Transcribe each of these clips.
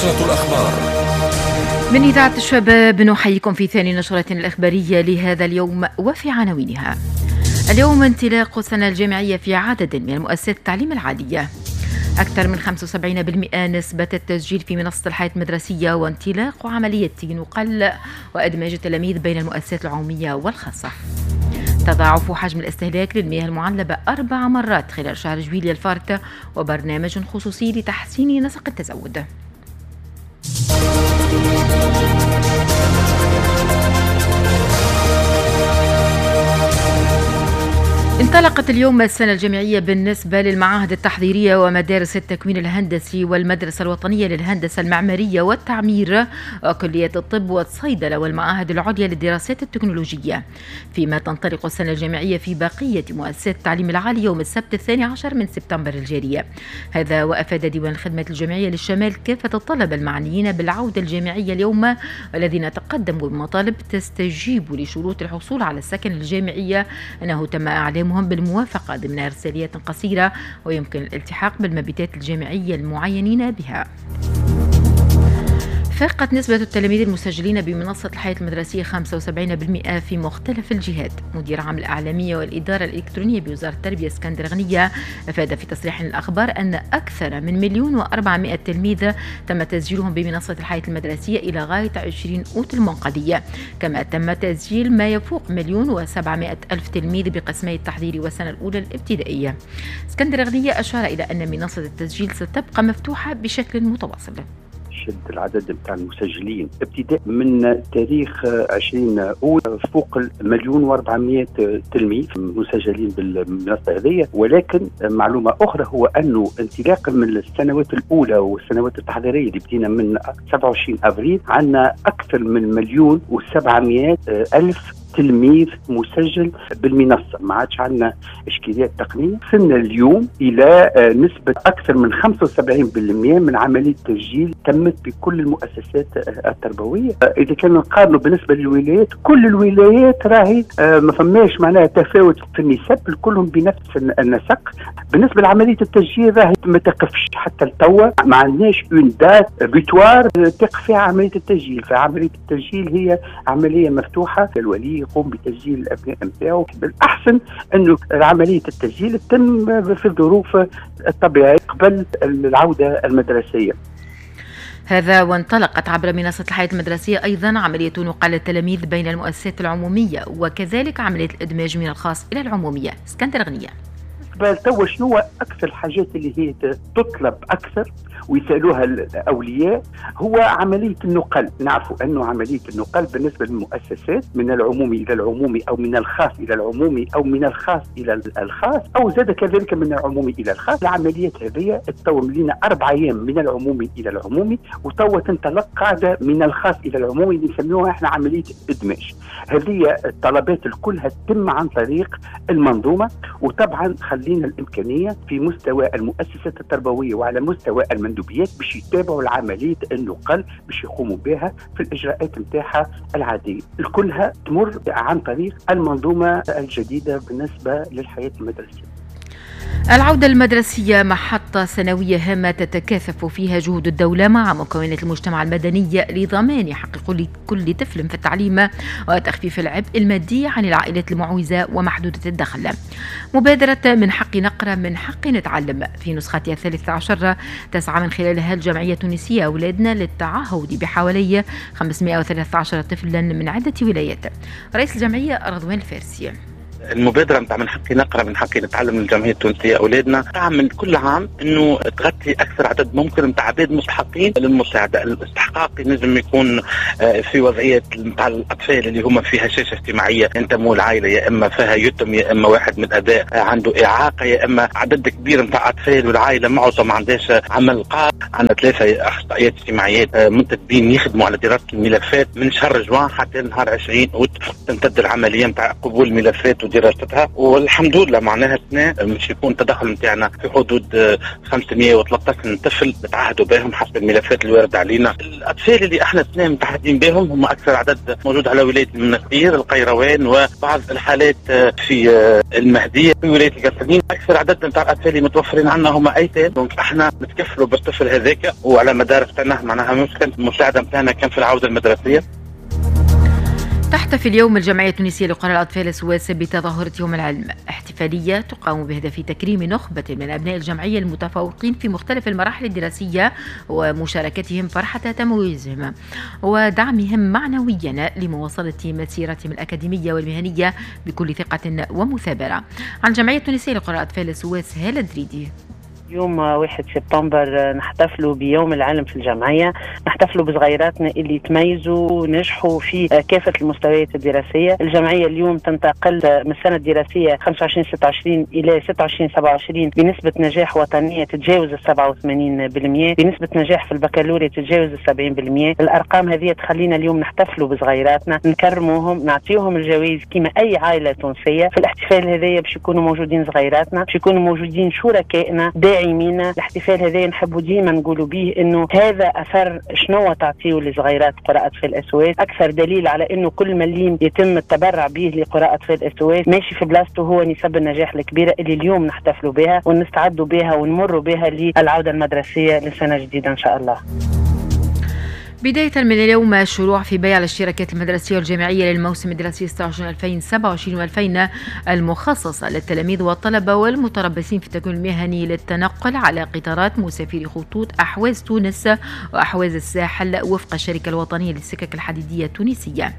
الأخبار من إذاعة الشباب، نحييكم في ثاني نشرة الإخبارية لهذا اليوم وفي عناوينها. اليوم انطلاق السنة الجامعية في عدد من مؤسسات التعليم العالية. أكثر من 75% نسبة التسجيل في منصة الحياة المدرسية وانطلاق عملية نقل وإدماج التلاميذ بين المؤسسات العمومية والخاصة. تضاعف حجم الاستهلاك للمياه المعلبة 4 مرات خلال شهر جويلية الفارط، وبرنامج خصوصي لتحسين نسق التزود. انطلقت اليوم السنة الجامعية بالنسبة للمعاهد التحضيرية ومدارس التكوين الهندسي والمدرسة الوطنية للهندسة المعمارية والتعمير وكلية الطب والصيدلة والمعاهد العليا للدراسات التكنولوجية، فيما تنطلق السنة الجامعية في بقية مؤسسات التعليم العالي يوم السبت 12 من سبتمبر الجاري. هذا وأفاد ديوان الخدمات الجامعية للشمال كافة الطلبة المعنيين بالعودة الجامعية اليوم والذين تقدموا بمطالب تستجيب لشروط الحصول على السكن الجامعية أنه تم إعلامهم بالموافقة ضمن إرساليات قصيرة ويمكن الالتحاق بالمبيتات الجامعية المعينين بها. فاقت نسبة التلاميذ المسجلين بمنصة الحياة المدرسية 75% في مختلف الجهات. مدير عام الإعلامية والإدارة الإلكترونية بوزارة التربية اسكندر غنية أفاد في تصريح للأخبار أن أكثر من 1,400,000 تلميذ تم تسجيلهم بمنصة الحياة المدرسية إلى غاية 20 أوت المنقضية، كما تم تسجيل ما يفوق 1,700,000 تلميذ بقسمي التحضير والسنة الأولى الابتدائية. اسكندر غنية أشار إلى أن منصة التسجيل ستبقى مفتوحة بشكل متواصل. شد العدد بتاع المسجلين ابتداء من تاريخ 20 أوت فوق 1,400,000 تلميذ مسجلين بالمنصة هذه. ولكن معلومة أخرى هو أنه انطلاقا من السنوات الأولى والسنوات التحضيرية اللي بدينا من 27 أبريل عندنا أكثر من 1,700,000 تلميذ مسجل بالمنصة. ما عادش عندنا إشكاليات تقنية. وصلنا اليوم إلى نسبة أكثر من 75% من عملية التسجيل تمت بكل المؤسسات التربوية. إذا كان نقارنوا بالنسبة للولايات، كل الولايات راهي ما فماش معناها تفاوت في النسب، كلهم بنفس النسق. بالنسبة لعملية التسجيل راهي ما تقفش حتى لتوا، ما عندناش une date butoir تقف فيها عملية التسجيل. فعملية التسجيل هي عملية مفتوحة، الولي يقوم بتسجيل الأبناء نتاعو. بالأحسن أنه عملية التسجيل تتم في الظروف الطبيعية قبل العودة المدرسية. هذا وانطلقت عبر منصة الحياة المدرسية أيضا عملية نقل التلاميذ بين المؤسسات العمومية وكذلك عملية الإدماج من الخاص إلى العمومية. اسكندر غنية. توا شنو أكثر الحاجات اللي هي تطلب أكثر ويسألوها الأولياء هو عملية النقل. نعرفوا أنه عملية النقل بالنسبة للمؤسسات من العمومي إلى العمومي أو من الخاص إلى العمومي أو من الخاص إلى الخاص أو زاد كذلك من العمومي إلى الخاص. العمليات هذه تطور لنا 4 أيام من العمومي إلى العمومي، وتوا تنطلق قاعدة من الخاص إلى العمومي اللي نسميوها احنا عملية إدماج. هذه الطلبات كلها تتم عن طريق المنظومة، وطبعا خلينا الإمكانية في مستوى المؤسسات التربوية وعلى مستوى المندوبيات باش يتابعوا العملية النقل باش يقوموا بها في الإجراءات نتاعها العادية. كلها تمر عن طريق المنظومة الجديدة بالنسبة للحياة المدرسية. العودة المدرسية محطة سنوية هامة تتكاثف فيها جهود الدولة مع مكونات المجتمع المدني لضمان حق كل طفل في التعليم وتخفيف العبء المادي عن العائلات المعوزة ومحدودة الدخل. مبادرة من حق نقرأ من حق نتعلم في نسختها 13 تسعى من خلالها الجمعية التونسية أولادنا للتعهد بحوالي 513 طفلا من عدة ولايات. رئيس الجمعية رضوان الفارسي. المبادرة نتاع من حقي نقرأ من حقي نتعلم من الجمعية التونسية أولادنا تعمل كل عام أنه تغطي أكثر عدد ممكن نتاع عباد مستحقين للمساعدة. الاستحقاق ينجم يكون في وضعية نتاع الأطفال اللي هما في هشاشة اجتماعية، ينتموا العائلة يا إما فيها يتم يا إما واحد من الآباء عنده إعاقة يا إما عدد كبير نتاع أطفال والعائلة معظم ما عندهاش عمل قار. عندنا 3 أخصائيات اجتماعيات منتدبين يخدموا على دراسة الملفات من شهر جوان حتى نهار 20 أوت تمتد العملية نتاع قبول الملفات دراستها. والحمد لله معناها السنة مش يكون التدخل نتاعنا في حدود 513 طفل نتعهدوا بهم حسب الملفات الواردة علينا. الاطفال اللي احنا السنة متعهدين بهم هم اكثر عدد موجود على ولاية المنستير، القيروان، وبعض الحالات في المهدية في ولاية القصرين. اكثر عدد نتاع الاطفال اللي متوفرين عندنا هما ايتام، donc احنا نتكفلوا بالطفل هذاك وعلى مدار السنة، معناها ممكن المساعدة نتاعنا كان في العودة المدرسية. تحتفي اليوم الجمعية التونسية لقرى الأطفال SOS بتظاهرة يوم العلم، احتفالية تقام بهدف تكريم نخبة من أبناء الجمعية المتفوقين في مختلف المراحل الدراسية ومشاركتهم فرحة تميزهم ودعمهم معنويا لمواصلة مسيرتهم الأكاديمية والمهنية بكل ثقة ومثابرة. عن الجمعية التونسية لقرى الأطفال SOS هالة دريدي. يوم 1 سبتمبر نحتفلوا بيوم العلم في الجمعية، نحتفلوا بصغيراتنا اللي تميزوا ونجحوا في كافة المستويات الدراسية. الجمعية اليوم تنتقل من السنة الدراسية 25-26 إلى 26-27 بنسبة نجاح وطنية تتجاوز 87%، بنسبة نجاح في البكالوريا تتجاوز 70%. الأرقام هذه تخلينا اليوم نحتفلوا بصغيراتنا، نكرموهم، نعطيهم الجوائز كما أي عائلة تونسية. في الاحتفال هذايا باش يكونوا موجودين صغيراتنا، باش يكونوا موجودين شركائنا داعمين. الاحتفال هذا نحبوا ديما نقولوا به انه هذا اثر شنو تعطيه لصغيرات قرى اطفال SOS، اكثر دليل على انه كل مليم يتم التبرع به لقرى اطفال SOS ماشي في بلاصته هو نسب النجاح الكبيرة اللي اليوم نحتفلوا بها ونستعدوا بها ونمروا بها للعودة المدرسية لسنه جديدة ان شاء الله. بداية من اليوم الشروع في بيع الاشتراكات المدرسية والجامعية للموسم الدراسي 26 2027 المخصصة للتلاميذ والطلبة والمتربصين في التكوين المهني للتنقل على قطارات مسافري خطوط أحواز تونس وأحواز الساحل وفق الشركة الوطنية للسكك الحديدية التونسية.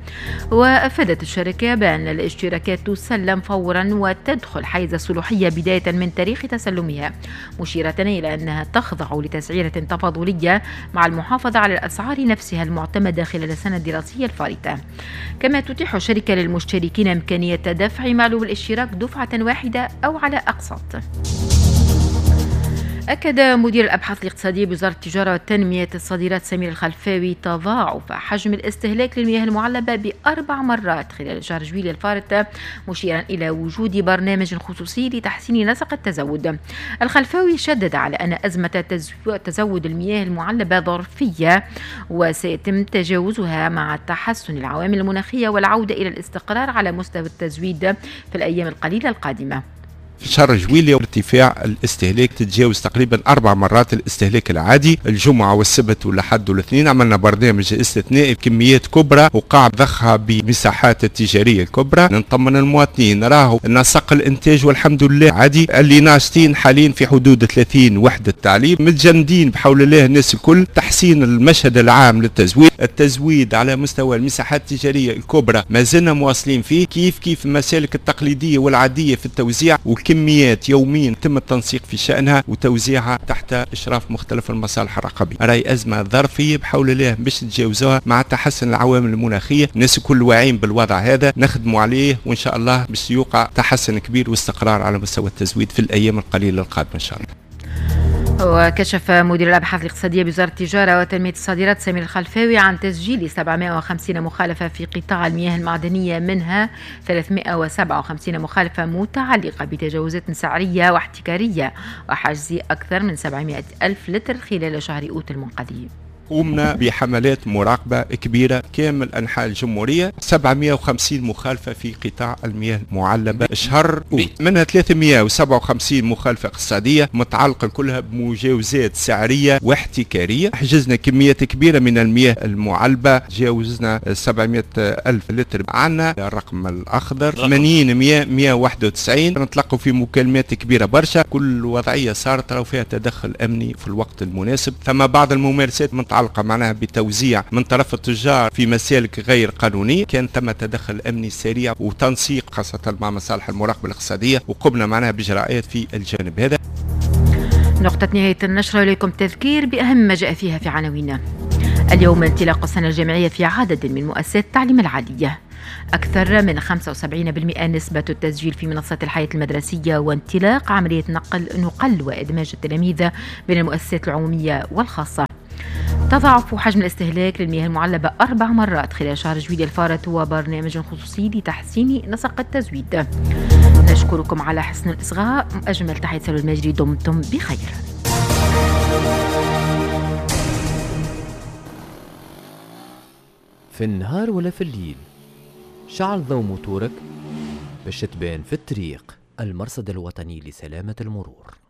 وأفادت الشركة بأن الاشتراكات تسلم فورا وتدخل حيز الصلاحية بداية من تاريخ تسلمها، مشيرة إلى أنها تخضع لتسعيرة تفاضلية مع المحافظة على الأسعار نفسها المعتمدة خلال السنة الدراسية الفارطة. كما تتيح الشركة للمشتركين إمكانية دفع معلوم الاشتراك دفعة واحدة أو على أقساط. أكد مدير الأبحاث الاقتصادية بوزارة التجارة وتنمية الصادرات سمير الخلفاوي تضاعف حجم الاستهلاك للمياه المعلبة ب4 مرات خلال شهر جويلية الفارط، مشيرا إلى وجود برنامج خصوصي لتحسين نسق التزود. الخلفاوي شدد على أن أزمة تزود المياه المعلبة ظرفية وسيتم تجاوزها مع تحسن العوامل المناخية والعودة إلى الاستقرار على مستوى التزويد في الأيام القليلة القادمة. في شهر جويلية ارتفاع الاستهلاك تتجاوز تقريبا 4 مرات الاستهلاك العادي. الجمعة والسبت والأحد والاثنين عملنا برنامج استثنائي بكميات كبرى وقع ضخها بمساحات التجارية الكبرى. نطمن المواطنين راهو نسق الانتاج والحمد لله عادي. اللي ناشطين حاليا في حدود 30 وحدة تعليم متجندين بحول الله الناس الكل. تحسين المشهد العام للتزويد، التزويد على مستوى المساحات التجارية الكبرى ما زلنا مواصلين فيه، كيف المسالك التقليدية والعادية في التوزيع، وكميات يوميا تم التنسيق في شأنها وتوزيعها تحت إشراف مختلف المصالح الرقابية. راي أزمة ظرفية بحول الله باش تتجاوزوها مع تحسن العوامل المناخية. الناس الكل واعيين بالوضع هذا، نخدموا عليه وإن شاء الله باش يوقع تحسن كبير واستقرار على مستوى التزويد في الأيام القليلة القادمة إن شاء الله. وكشف مدير الأبحاث الاقتصادية بوزارة التجارة وتنمية الصادرات سمير الخلفاوي عن تسجيل 750 مخالفة في قطاع المياه المعدنية، منها 357 مخالفة متعلقة بتجاوزات سعرية واحتكارية وحجز أكثر من 700 ألف لتر خلال شهر أوت المنقضي. قمنا بحملات مراقبة كبيرة كامل أنحاء الجمهورية، 750 مخالفة في قطاع المياه المعلبة شهر أوت، منها 357 مخالفة اقتصادية متعلقة كلها بمجاوزات سعرية واحتكارية. حجزنا كميات كبيرة من المياه المعلبة، جاوزنا 700 ألف لتر. عنا الرقم الأخضر 80 100 191. نتلقوا في مكالمات كبيرة برشا، كل وضعية صارت راهو فيها تدخل أمني في الوقت المناسب. ثم بعض الممارسات متعلقة معناها بتوزيع من طرف التجار في مسالك غير قانونية، كان ثم تدخل أمني سريع وتنسيق خاصة مع مصالح المراقبة الاقتصادية، وقمنا معناها بإجراءات في الجانب هذا. نقطة نهاية النشرة، إليكم تذكير بأهم ما جاء فيها في عناوين. اليوم انطلاق السنة الجامعية في عدد من مؤسسات التعليم العالية. أكثر من 75% نسبة التسجيل في منصة الحياة المدرسية، وانطلاق عملية نقل وإدماج التلاميذ بين المؤسسات العمومية والخاصة. تضاعف حجم الاستهلاك للمياه المعلبة 4 مرات خلال شهر جويلية الفارط، وبرنامج خصوصي لتحسين نسق التزويد. نشكركم على حسن الإصغاء. أجمل تحية سلوى الماجري، دمتم بخير. في النهار ولا في الليل، شعل ضوء موتورك باش تبان في الطريق. المرصد الوطني لسلامة المرور.